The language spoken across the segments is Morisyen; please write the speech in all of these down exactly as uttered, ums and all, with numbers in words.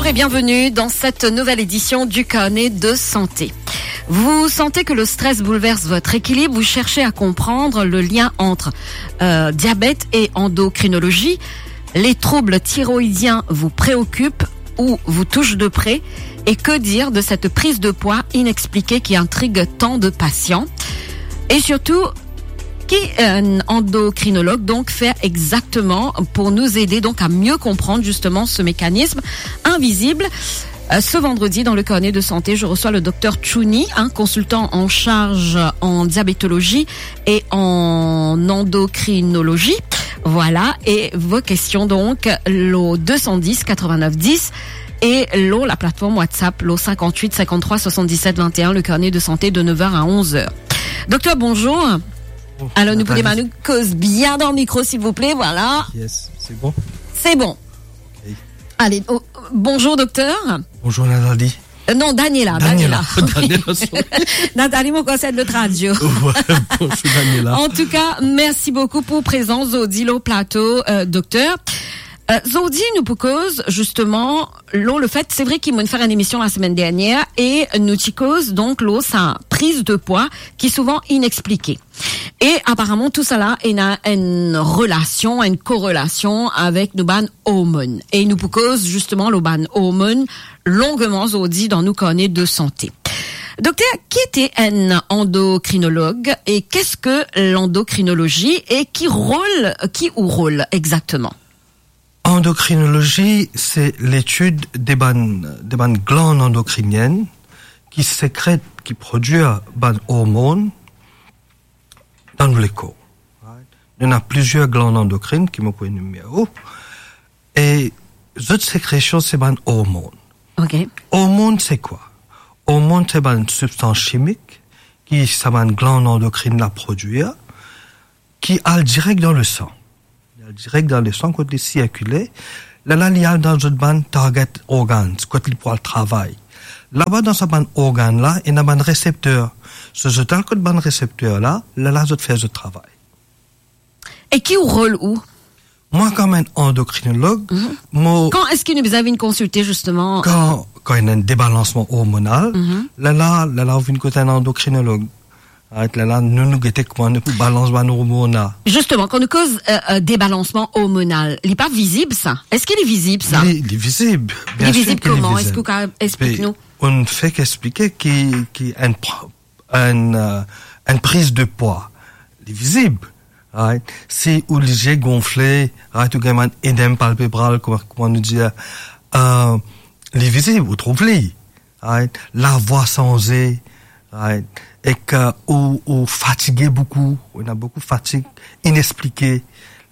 Et bienvenue dans cette nouvelle édition du Carnet de santé. Vous sentez que le stress bouleverse votre équilibre, vous cherchez à comprendre le lien entre, euh, diabète et endocrinologie, les troubles thyroïdiens vous préoccupent ou vous touchent de près, et que dire de cette prise de poids inexpliquée qui intrigue tant de patients ? Et surtout, qui un endocrinologue donc fait exactement pour nous aider donc à mieux comprendre justement ce mécanisme invisible ? Euh, ce vendredi, dans le Carnet de santé, je reçois le docteur Chouni, un consultant en charge en diabétologie et en endocrinologie. Voilà, et vos questions donc, lo deux cent dix quatre-vingt-neuf dix et lo la plateforme WhatsApp, lo cinquante-huit cinquante-trois soixante-dix-sept vingt et un, le Carnet de santé de neuf heures à onze heures. Docteur, bonjour. Bonjour, Nathalie. Alors, nou pou demann ou koz bien dan mikro, silvouple, voilà. Yes, c'est bon. C'est bon. Ok. Allez, oh, bonjour, docteur. Bonjour, Nathalie. Euh, non, Daniela, Daniela. Daniela. Daniela, sorry. Nathalie, mon conseil de radio. Ouais, bonjour, Daniela. En tout cas, merci beaucoup pour présence zordi lo plato, euh, docteur. Euh, zordi, nou pou koz, justement, lo le fait, c'est vrai ki mo'nn fer enn émission la semaine dernière, e nou ti koz, donk, lo sa prise de poids ki souvan inexpliquée. E aparaman, tou sala ena enn relasion, enn korelasion avek nou bann ormonn. E nou pou koz, zisteman, lo bann ormonn longman zordi dan nou karne de sante. Dokter, ki ete enn andokrinolog e qu'est-ce que l'endocrinologie e ki rol, ki ou rol exakteman? Andokrinolozi, se letid de bann, de bann glann andokrinienn ki sekret, ki prodwir bann ormonn dan nou lekor. Right? Nou ena plizier glann andokrin ki mo pou enimere ou. E zot sekresion, se bann ormonn. Ok. Ormonn, se kwa? Ormonn, se bann sibstans simik ki sa bann glann andokrin la prodwir, ki al direk dan lesan. Li al direk dan lesan, kot li sirkile. Lerla li al dan zot bann target organs, kot li pou al travay. Laba dan sa bann organn la, ena bann resepter. So zot al kot bann resepter la, lerla zot fer zot travay. E ki ou rol ou? Mwa, kom enn andokrinolog, mhm, mo... Kan eski nou bizin vinn konsilte, zisteman? Kan, kan ena enn debalansman ormonal, mhm, lerla, lerla ou vinn kot enn andokrinolog. Right, lerla, nou, nou gete kouma nou pou balans bann ormonn la. Zisteman, kan nou koz, euh, euh, debalansman ormonal, li pa vizib, sa? Eski li vizib, sa? Li, li vizib. Li vizib kouma? Eski ou kapav explik nou? Be, nou fek explike ki, ki enn pr-, enn, euh, enn priz de pwa, li vizib, right? Si ou lizie gonfle, right, ou gagn bann edem palpebral, kouma, kouma nou dir, euh, li vizib, ou trouv li, right? Lavwa sanze, right? Ek ou, ou fatige boukou, ou ena boukou fatig inexplike,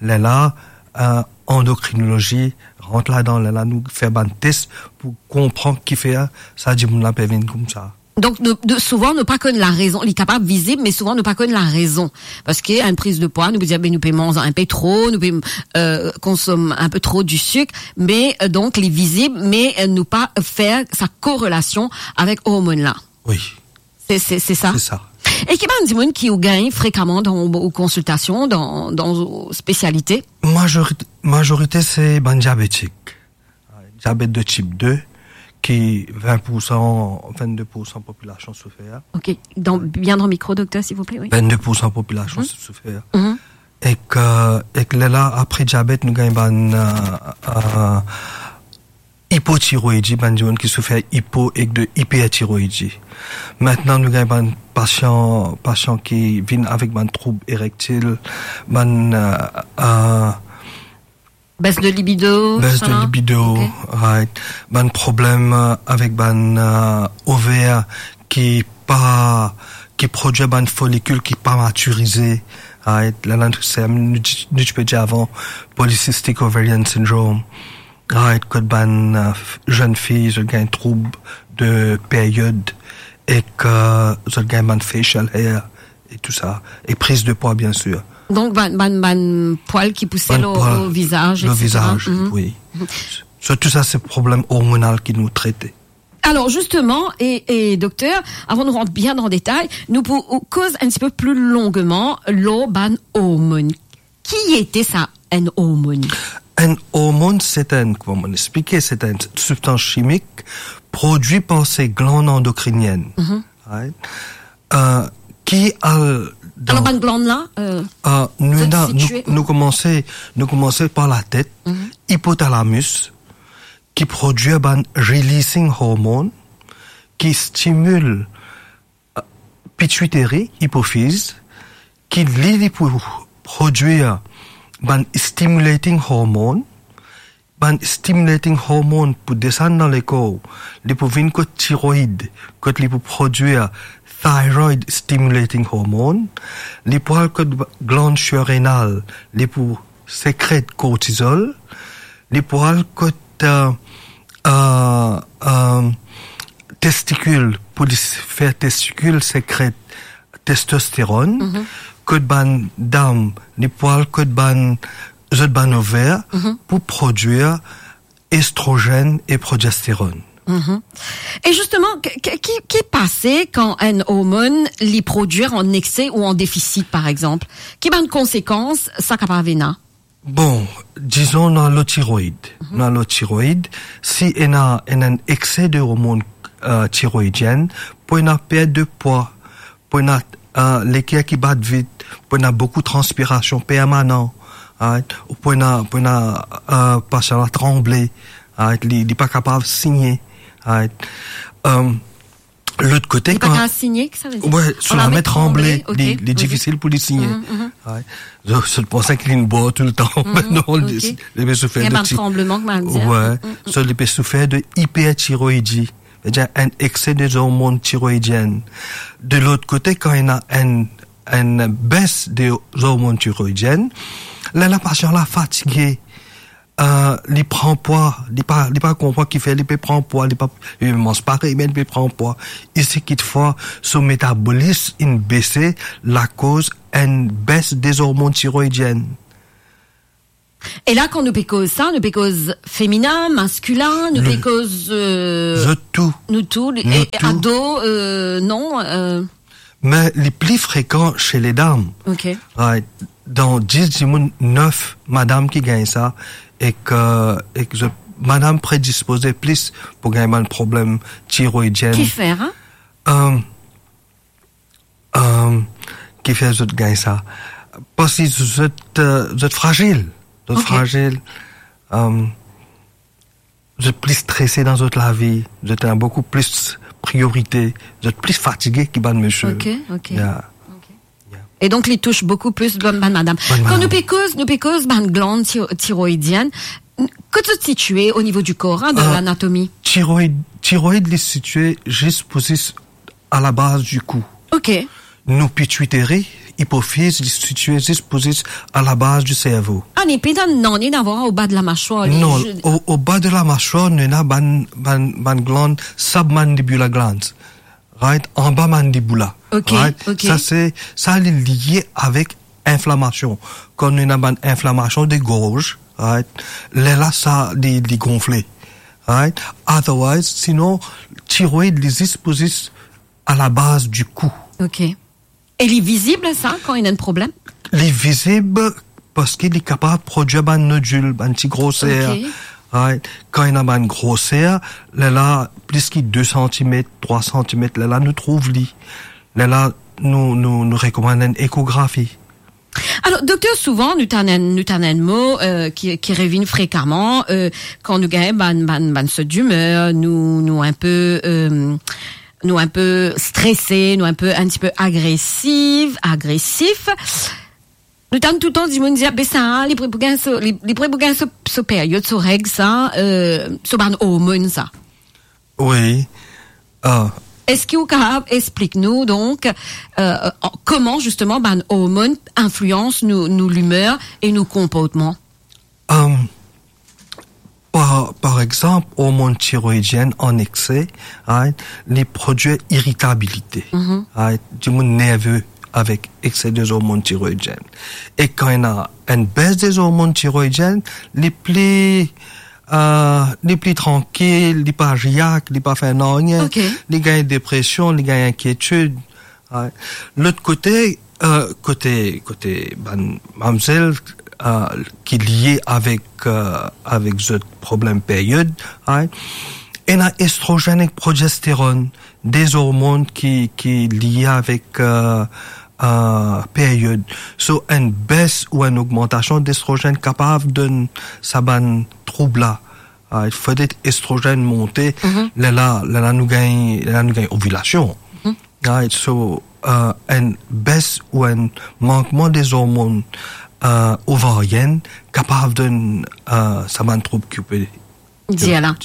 lerla, euh, andokrinolozi rant ladan, lerla nou fer bann tes pou konpran kifer sa dimoun la pe vinn koumsa. Donk, nou, nou, souvan, nou pa konn larezon. Li kapav vizib, me souvan, nou pa konn larezon. Parski enn priz de pwa, nou pe dir, be, nou pe manz enpe tro, nou pe, euh, konsom enpe tro di sik, me, euh, donk, li vizib, me, euh, nou pa fer sa korelasion avek ormonn la. Wi. Se, se, se sa? Se sa. E ki bann dimoun ki ou gagn frekaman dan ou konsiltasion, dan, dan ou spesialite? Mazorit-, mazorite, se bann diabetik. Diabet de tip de, ki vin poursan, vennde poursan popilasion soufer. Ok, dan, bien dan mikro, dokter, silvouple, wi. Vennde poursan popilasion, mhm, soufer. Mhm. Ek, ek lerla, apre diabet, nou gagn bann, euh, euh, ipotiroidi, bann dimoun ki soufer ipo ek de ipertiroidi. Mintnan, nou gagn bann pasian, pasian ki vinn avek bann troub erektil, bann, euh, euh, Baisse de libido, sa? Baisse de libido, ok. Right. Bann problem, euh, avek bann, euh, over ki pa, ki prodwir bann folikil ki pa matirize, right? Lerla, nou ti, nou ti pe dir avan, polycystic ovarian syndrome, right? Kot bann, euh, zenn fi, zot gagn troub de period ek, euh, zot gagn bann facial hair e tou sa, e priz de pwa, bien sir. Donk, bann, bann, bann pwal ki pouse lo, lo vizaz, etsetera. Bann pwal, lo vizaz, mhm, wi. Mhm. So, tou sa, se problem ormonal ki nou trete. Alor, zisteman, e, e dokter, avan nou rant bien dan detay, nou pou koz enn tipe pli longman lo bann ormonn. Ki ete sa, enn ormonn? Enn ormonn, se enn, kouma mo explike, se enn sibstans chimik prodwi par se glann andokrinienn. Mhm. Right? Euh, ki al dan... Alor, bann glann la, euh, euh, nou, zot ena, nou, sitiye nou komanse, nou komanse par latet, mhm, ipotalamus, ki prodwi bann releasing hormone, ki stimil pituitary, ipofiz, ki li, li pou prodwir bann stimulating hormone. Bann stimulating hormone pou desann dan lekor, li pou vinn kot tiroid, kot li pou prodwir thyroid stimulating hormone, li pou al kot glann surrenal, li pou sekret kortizol, li pou al kot, euh, euh, euh, testikil, pou li s-, fer testikil sekret testosteron, mhm, kot bann dam, li pou al kot bann, zot bann over, mhm, pou prodwir estrogen e progesteron. Mhm. E zisteman, ki, ki, ki, ki pase kan enn ormonn li prodwir an ekse ou an defisit, par exanp? Ki bann konsekans sa kapav ena? Bon, dizon, nou ena lo tiroid. Mhm. Nou ena lo tiroid, si ena, ena enn ekse de ormonn, euh, tiroidienn, pou ena pert de pwa, pou ena, euh, leker ki bat vit, pou ena boukou transpirasion permanan, right? Ou pou ena, pou ena, euh, pasian la tranble, right? Li, li pa kapav signe, right? Euh, lot kote, li pa kan kapav signe, ki sa ve dir? Wi, so lame tranble, ok, li, li difisil pou li signe. Mhm, mhm. Right? Zot, zot panse ki li bor toultan. Mhm, non, li, ok, li pe soufer de ti-, li ena bann tranbleman, kouma dir. Wi, mhm, mhm, so li pe soufer de ipertiroidi. Savedir enn ekse de zormonn tiroidienn. De lot kote, kan ena enn, enn bes de zormonn tiroidienn, la, la pasian la fatige, euh, li pran pwa, li pa, li pa konpran kifer li pe pran pwa, li pa, li manz parey, me li pe pran pwa. Isi, kitfwa, so metabolism inn bese lakoz enn bes de zormonn tiroidienn. E la, kan nou pe koz sa, nou pe koz feminin, maskilin, nou pe koz, euh, zot tou. Nou tou, nou tou. Ado, euh, non, euh. Me li pli frekan se ledam. Ok. Right. Dan dis dimoun, nef madam ki gagn sa, ek, ek zot madam predispoze plis pou gagn bann problem tiroidienn. Kifer, hein? Euh, euh, kifer zot gagn sa? Parski zot, euh, zot frazil. Zot frazil. Euh, zot pli strese dan zot lavi. Zot ena boukou plis priorite. Zot pli fatige ki bann misie. Ok, ok. Yeah. Ok. Yeah. E donk, li tous boukou plis bann, bann madam. Bann madam. Kan nou pe koz, nou pe koz bann glann ti-, tiroidienn, kot zot sitie o nivo di kor, hein, de lanatomi? Euh, tiroid, tiroid, li sitie zis pou zis a la baz di kou. Ok. Nou pituitary, ipofiz, li sitie zis pou zis a la baz di servo. Ah, li pena nanye a voir o ba de la maswar, li... Non, o, o ba de la maswar, nou ena bann, bann, bann glann submandibular glands. Right? Anba mandiboula. Ok, right? Ok. Sa se, sa li lie avek inflamasion. Kan nou ena bann inflamasion de gorz, right? Lerla sa li, li gonfle. Right? Otherwise, sinon, tiroid, li zis pou zis a la baz di kou. Ok. E li vizib sa, kan ena enn problem? Li vizib parski li kapav prodwir bann nodil, bann ti groser. Ok. Right? Kan ena bann groser, lerla plis ki de santimet, trwa santimet, lerla nou trouv li. Lerla nou, nou, nou rekomann enn ekografi. Alor, dokter, souvan, nou tann enn, nou tann enn mo, euh, ki, ki revinn frekaman, euh, kan nou gagn bann, bann, bann sot dimer, nou, nou enpe, euh, nou enpe strese, nou enpe, enn tipe agresif, agresif. Nou tann toultan dimoun dir, "Ah, be sa, li pre pou gagn so, li, li pre pou gagn so, so period, so reg sa, euh, so bann ormonn sa." Wi. Ah. Eski ou kapav explik nou, donk, euh, euh, kouma, zisteman, bann ormonn inflians nou, nou limer e nou konportman? Euh, par, par exanp, ormonn tiroidienn an ekse, right, li prodwir iritabilite, mhm, right, dimoun nerve avek ekse de zormonn tiroidienn. E kan ena enn bes de zormonn tiroidienn, li pli, euh, li pli trankil, li pa react, li pa fer nanye, ok, li gagn depresion, li gagn inkietid. Right. Lot kote, euh, kote, kote bann mamzel, euh, ki lie avek, euh, avek zot problem period, right? Ena estrogen ek progesteron, de ormon ki, ki lie avek, euh, euh, period. So, enn bes ou enn ogmantasion destrogen kapav donn sa bann troub la. Ah, fode estrogen monte, Mhm. lerla, lerla nou gagn, lerla nou gagn ovilasion. Mhm. Right, so, euh, enn bes ou enn mankman de ormon, euh, ovarienn kapav donn, euh, sa bann troub ki pe Dir la.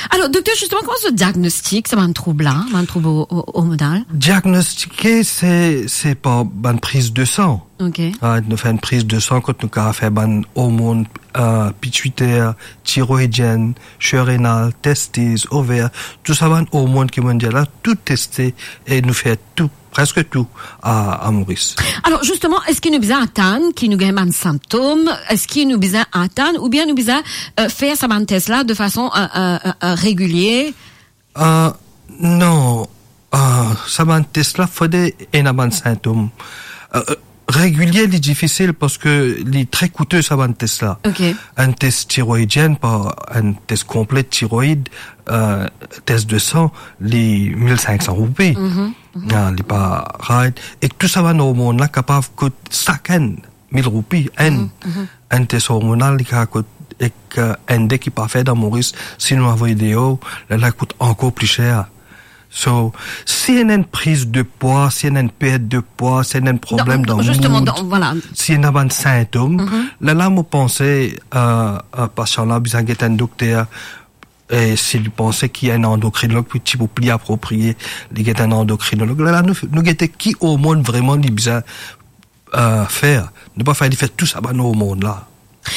Alor, dokter, zisteman, kouma zot diagnostik sa bann troub la, bann troub o-, o-, ormonal? Diagnostike, se, se par bann priz de san. Ok. Ah, nou fer enn priz de san kot nou kapav fer bann ormon, euh, pituitaire, tiroidienn, surrénal, testis, over, tou sa bann ormon ki mo dir la, tou teste e nou fer tou, preske tou a, a Moris. Alor, zisteman, eski nou bizin atann ki nou gagn bann sintom? Eski nou bizin atann oubien nou bizin, euh, fer sa bann tes la de fason, euh, euh, euh, euh, regilie? Euh, non. Euh, sa bann tes la, fode ena bann sintom. Euh, euh, regilie, li difisil parski li tre koute, sa bann tes la. Ok. Enn tes tiroidienn, par enn tes konple tiroid, euh, tes de san, li mil sink san roupi. Mhm, mhm. Ah, li pa, right? Ek tou sa bann ormon la kapav kout sakenn mil roupi, enn. Mhm, mhm. Enn tes ormonal, li kapav kout, ek, euh, enn de ki pa fer dan Moris, si nou avoy deor, lerla kout ankor pli ser. So, si ena enn priz de pwa, si ena enn pert de pwa, si ena enn problem dan mood, zisteman, dan, voilà. Si ena bann sintom, Mhm. lerla mo panse, euh, euh, pasian la bizin get enn dokter, e si li panse ki enn andokrinolog pou, ti pou pli aproprie, li get enn andokrinolog. Lerla nou, nou gete ki ormon vreman li bizin, euh, fer. Nou pa fer li fer tou sa bann ormon la.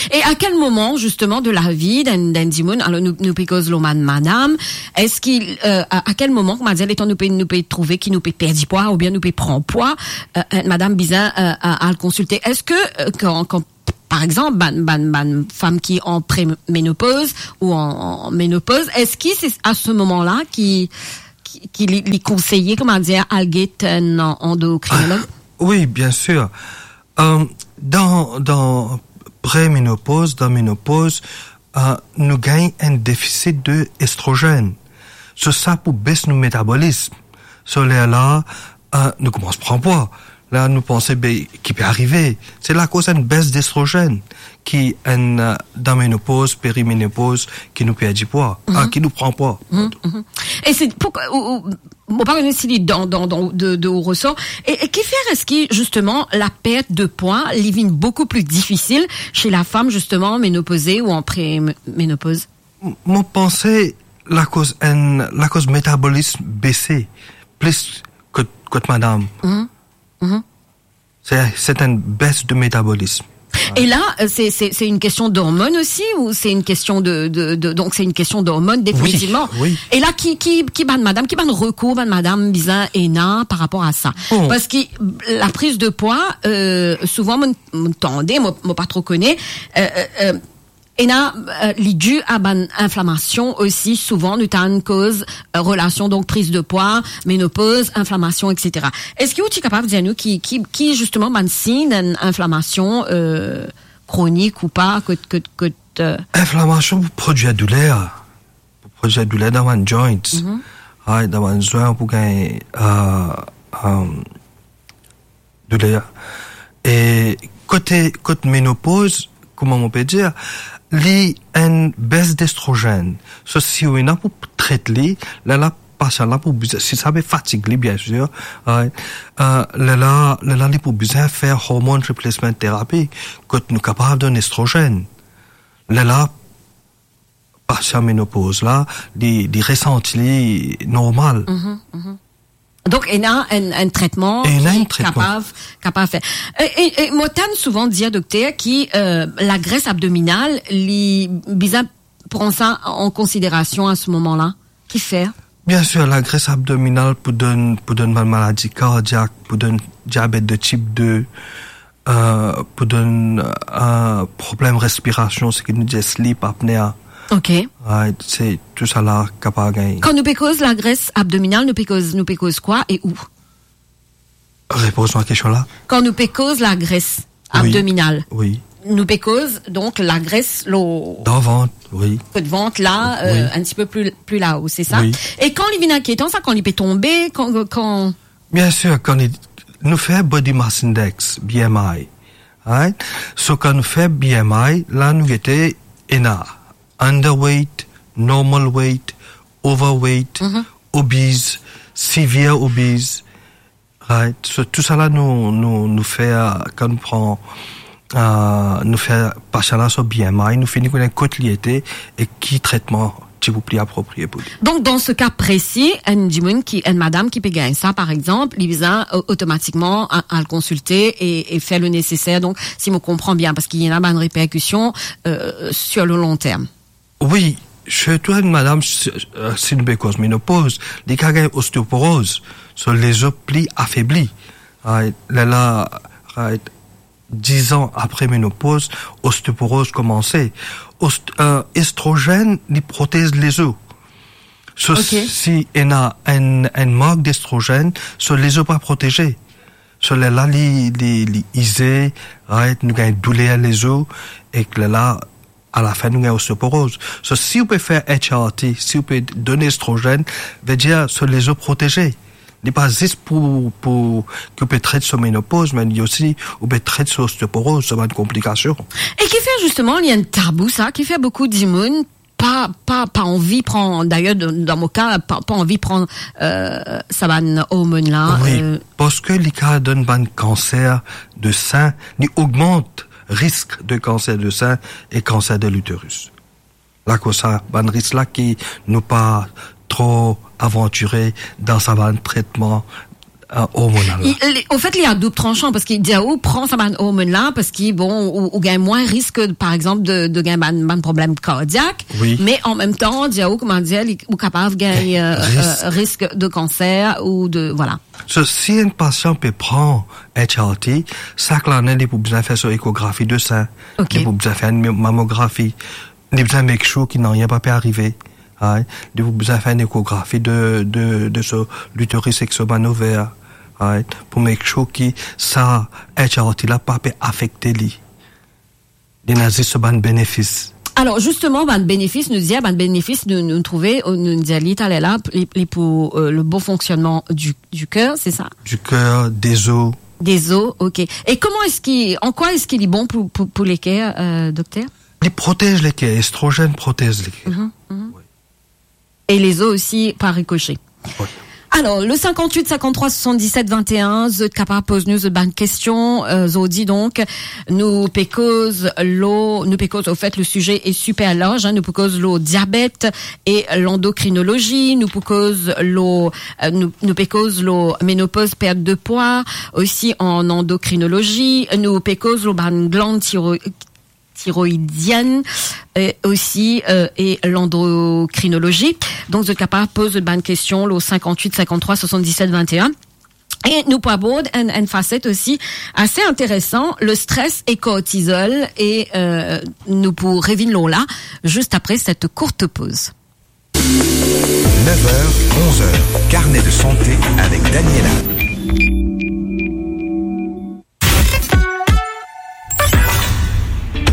E a kel moman, zisteman, de lavi d'enn, d'enn dimoun, alor nou, nou pe koz lor bann madam, eski, euh, a, a kel moman, koumadir, letan nou pe, nou pe trouve ki nou pe perdi pwa oubien nou pe pran pwa, euh, enn madam bizin, euh, a-, al konsilte? Eski, euh, kan, kan, par exanp, bann, bann, bann fam ki an premenopoz ou an, an menopoz, eski se a se moman la ki, ki, ki li, li konseye, koumadir, al get enn andokrinolog? Ah, wi, biensir. Euh, dan, dan premenopoz, dan menopoz, euh, nou gagn enn defisit de estrogen. So, sa pou bes nou metabolism. So, lerla, euh, nou koumans pran pwa. La, nou panse, be, ki pe arive? Se lakoz enn bes destrogen ki enn, euh, dan menopoz, perimenopoz, ki nou perdi pwa, Mhm. ah, ki nou pran pwa. Mhm, mhm. E se pou, ou, ou, mo pa kone si li dan, dan, dan, de, de ou resor. E, e kifer eski, zisteman, la pert de pwa, li vinn boukou pli difisil se lafam, zisteman, menopoze ou an premenopoz? M-, mo panse lakoz enn, lakoz metabolism bese plis kot, kot madam. Mhm. Mhm. Se, se enn bes de metabolism. E la, euh, se, se, se enn kestion d'ormon osi, ou se enn kestion de, de, de, donk se enn kestion d'ormon, definitivman. Wi, wi. E la, ki, ki, ki bann madam, ki bann rekour bann madam bizin ena par rapor a sa? Bon. Parski la priz de pwa, euh, souvan, mo, mo tande, mo, mo pa tro kone, euh, euh, euh, ena, euh, li di a bann inflamasion osi, souvan nou tann koz, euh, relasion, donk, priz de pwa, menopoz, inflamasion, et cetera. Eski ou ti kapav dir nou ki, ki, ki, zisteman, bann sign d'enn inflamasion, euh, kronik ou pa, kot, kot, kot, euh, Inflamasion pou prodwir douler, pou prodwir douler dan bann joints. Mhm. Ah, dan bann zwin, pou gagn, euh, euh, douler. E kote, kot menopoz, kouma mo pe dir, li enn bes destrogen. So, si ou ena pou tret li, la, la, pasian la pou bizin, si sa pe fatig li, biensir, right? Euh, lerla, lerla, li pou bizin fer hormone replacement therapy, kot nou kapav donn estrogen. Lerla, pasian menopoz la, li, li resanti li normal. Mhm, mhm. Donk, ena enn, enn tretman Ena ki enn tretman. kapav, kapav fer. E, e, e mo tann souvan dir, dokter, ki, euh, lagres abdominal, li bizin pran sa an konsiderasion a se moman la. Kifer? Biensir, lagres abdominal pou donn, pou donn bann maladi kardiak, pou donn diabet de tip de, euh, pou donn, euh, problem respirasion, seki nou dir sleep apnea. Ok. Right, se tou sa la kapav gagn. Kan nou pe koz lagres abdominal, nou pe koz, nou pe koz kwa e ou? Repoz mwa kestion la. Kan nou pe koz lagres Wi. abdominal, Wi. Nou pe koz, donk, lagres lor Dan vant, wi. kot vant la, Wi. euh, un petit peu plus, plus là-haut, c'est ça? Wi. E kan li vinn inkietan sa, kan li pe tonbe, kan, kan Bien sûr, kan li, nou fer body mass index, B M I, right? So, kan nou fer B M I, la nou gete ena underweight, normal weight, overweight, Mhm. obese, severe obese, right? So, tou sa la nou, nou, nou fer, kan nou pran, euh, nou fer pasian la so B M I, nou fini kone kot li ete e ki tretman ti pou pli aproprie pou li. Donc, dans ce cas précis, enn dimoun ki, enn madam ki pe gagn sa, par exemple, li bizin, euh, automatiquement a-, al konsilte e, e fer le nécessaire. Donc, si mo konpran bien, parce qu'il y en a une répercussion, euh, sur le long terme. Wi, sirtou enn madam, si, euh, si nou pe koz menopoz, li kav gagn osteoporoz, so lezo pli afebli. Right, lerla, right, diz an apre menopoz, osteoporoz koumanse. Ost-, euh, estrogen, li protez lezo. So, Ok. si ena enn, enn mank d'estrogen, so lezo pa proteze. So, lerla, li, li, li ize, right, nou gagn douler lezo, ek lerla, alafin, nou gagn osteoporoz. So, si ou pe fer H R T, si ou pe donn estrogen, vedir so lezo proteze. Li pa zis pou, pou ki ou pe tret so menopoz, me li osi, ou pe tret so osteoporoz, so bann konplikasion. E ki fer, justement, li enn tabou sa, ki fer boukou dimoun pa, pa, pa anvi pran, d'ailleurs, dan, dan mo ka, pa, pa anvi pran, euh, sa bann ormonn la, Wi, euh. parski li kav donn bann kanser de sin, li ogmant risk de kanser de sin e kanser de l'utérus. La koz sa, bann risk la ki nou pa tro avantire dan sa bann tretman, euh, ormonal la. Li, li, anfet, li a doub transan, parski dir ou pran sa bann ormonn la, parski, bon, ou, ou gagn mwin risk, par exemple, de, de gagn bann, bann problem kardiak, Wi. me an mem tan, dir ou, kouma dir, li, ou kapav gagn, euh, Risk. euh, risk de kanser ou de, voilà. So, si enn pasian pe pran H R T, sak lane, li pou bizin fer so ekografi de sin, Ok. li pou bizin fer enn mamografi, li bizin make sure ki nanye pa pe arive, right? Li pou bizin fer enn ekografi de, de, de so l'utérus ek so bann over, right? Pou make sure ki sa H R T la pa pe afekte li. Li ena zis so bann benefis. Alors, justement, bann benefis, nou dir, bann benefis, nou, nou trouve, nou dir li taler la, li, li pou, euh, le bon fonctionnement du, du cœur, c'est ça? Du cœur, des os. Des os, ok. Et comment est-ce qu'il, en quoi est-ce qu'il est bon pour, pour, pour le cœur, euh, docteur? Li protez leker, estrogen protez leker. Mhm, mhm. Wi. E lezo osi par ricochet. Wi. Alors, le cinquante-huit cinquante-trois soixante-dix-sept vingt et un, zot kapav poz nou zot bann kestion, euh, zordi donk, nou pe koz lor, nou pe koz, au fait, le sujet est super large, hein, nou pe koz lor diabet e l'endocrinologie, nou pe koz lor, euh, nou, nou pe koz lor ménopause, perte de poids, aussi en endocrinologie, nou pe koz lor bann gland tiro-, thyroïdienne, euh, aussi, euh, et l'endocrinologie. Donc, zot kapav poz bann kestion lor cinquante-huit cinquante-trois soixante-dix-sept vingt et un. E nou pou abord enn, enn faset osi ase interesan, le stress e kortizol, e, euh, nou pou revinn lor la, just apre set kourt poz. Neuf heures, onze heures, carnet de santé avec Daniela.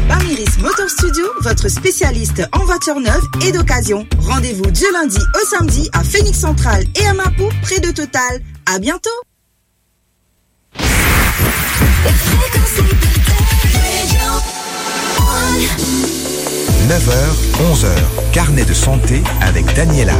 Bamiris Motor Studio, votre spécialiste en voiture neuve et d'occasion. Rendez-vous du lundi au samedi à Phoenix Central et à Mapou, près de Total. À bientôt. Neuf heures, onze heures, carnet de santé avec Daniela.